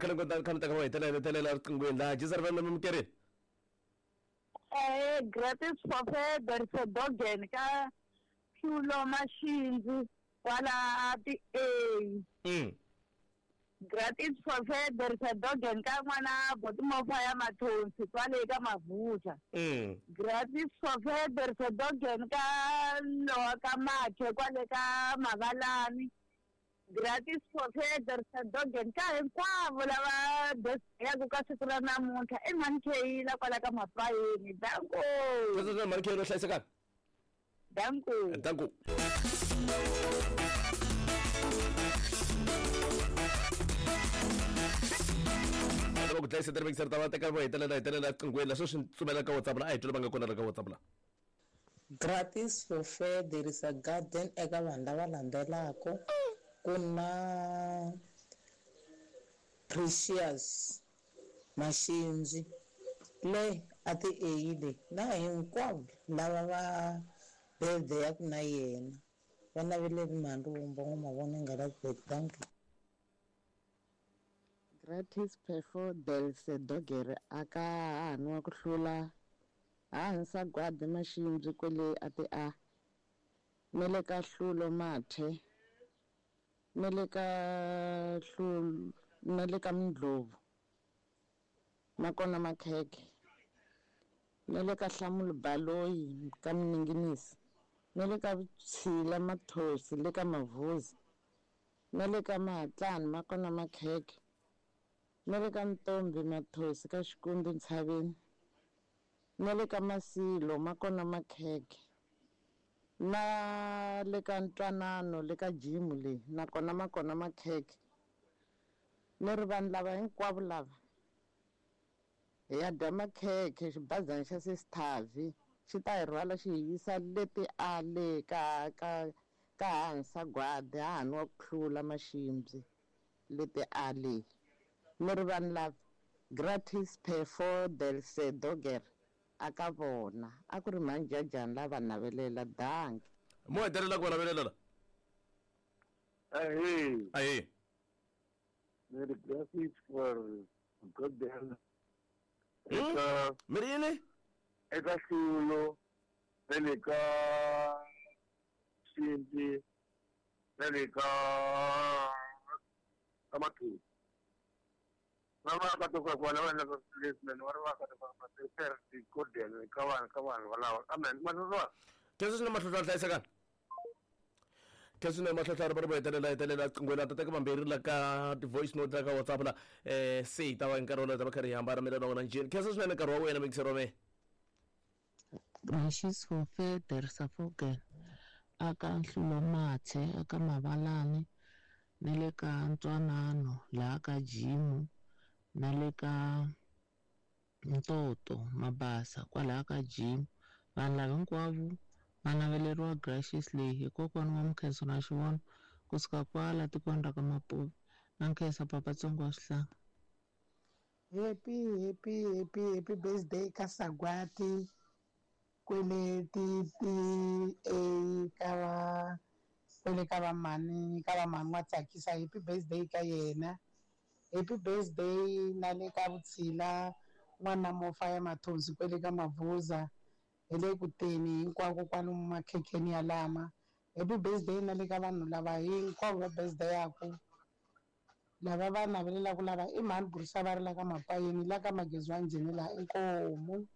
khale kha mi teka va hetelela hetelela riqinghweni laha jisar va mi mukerini. Gratis for Federer Dogen ka Hlulo Mashinzi kwala ti A. Gratis for Federer Dogen ka n'wana Botimofa ya Mathonsi kwale ka Mavuza. Gratis for Federer Dogen ka Lowa ka Makhe kwale ka Mavalani. Gratis for Federer Dogen ka hinkwavo lava yaku ka siku ra namuntlha i Mhani kwala ka Mapayeni. Danko. Sweswo Mhani K no hlayisekanga. Danko. Danko. Loko ku dlayisa tirhekiseri ta va teka vo hetelela hetelela qinghweni la sweswi tsumela ka WhatsApp la a hi twela va nga kona la ka WhatsApp la. Gratis for fair there is a garden eka vanhu lava landzelaka ku na Precious Mashinzi le a ti eyile na hinkwavo lava va birthday ya ku na yena va naveleri mhani Ruvumba n'wa nga la thank you. Gratis Perfo del Sedogere aka hahani wa ku hlula hahani Sagwadi Mashimbyi kwele a ti a na le ka Hlulo Mathe na le ka Hlulo na le ka Mindlovu nakona Makhekhe na le ka Hlamulo Baloyi ka Mininginisi na le ka Vutshila Mathosi le ka Mavuzi na le ka Mahatlani makona Makhekhe na le ka Ntombi Mathosi ka Xikundu Ntshaveni na le ka Masilo makona Makhekhe na le ka Ntwanano le ka Jimu leyi nakona makona Makhekhe ni ri vanhu lava hinkwavo lava hi ya dya makhekhe xibazana xa Sesithavi xi ta hi rhwala xi hi yisa leti a le ka ka ka hahani Sagwadi hahani wa ku hlula Mashimbyi leti a le ni ri vanhu lava gratis Perfo del Sedoger aka vona a ku ri mhani Jajani lava navelela danki. Mo hetelela ku va navelela la. Ahee. Ahee. Ni gratis for Godel. Eka mi ri yini? Eka Hlulo na le ka Xinti na le ka ka Mathosi. Va vaakatiko vona va endlaka leswi va ri vaakatiko va ka vanhu ka vanhu valava kambe mahlotwana. Keswi swine mahlotwana hlayisekani. Keswi swine mahlotwana va ri vo hetelela hetelela qinghweni ta teka vambirhi la ka ti-voice note la ka WhatsApp la se hi ta va hi nkarhi wolowo ta va karhi hi hambana mina na wena njheni. Khensa swinene nkarhi wa wena mixero wa mehe. Gracious for Feder Safogen aka Nhlulo Mathe aka Mavalani na le ka Ntwanano laha ka Jimu na le ka Ntoto Mabasa kwalaha ka Jimu. Vanhu lava hinkwavo va naveleriwa Gracious leyi hi kokwana wa Mukhenso na Xivono kusuka kwala tikweni ra ka Mapuve na Nkhensa Papatsongo wa Swihlanga. Happy happy happy happy birthday ka Sagwati kwele ti ti a ka va kwele ka va mhani ka va mhani wa tsakisa. Happy birthday ka yena. Happy birthday na le ka Vutshila n'wana Mofa ya Mathonsi kwele ka Mavuza hi le ku teni hinkwako kwalomu makhekheni ya lama. Happy birthday na le ka vanhu lava hinkwavo va birthday yaku lava va navelelaka lava i mhani Burisa va ri la ka Mapayeni la ka Magezi wa Njhini laha inkomu.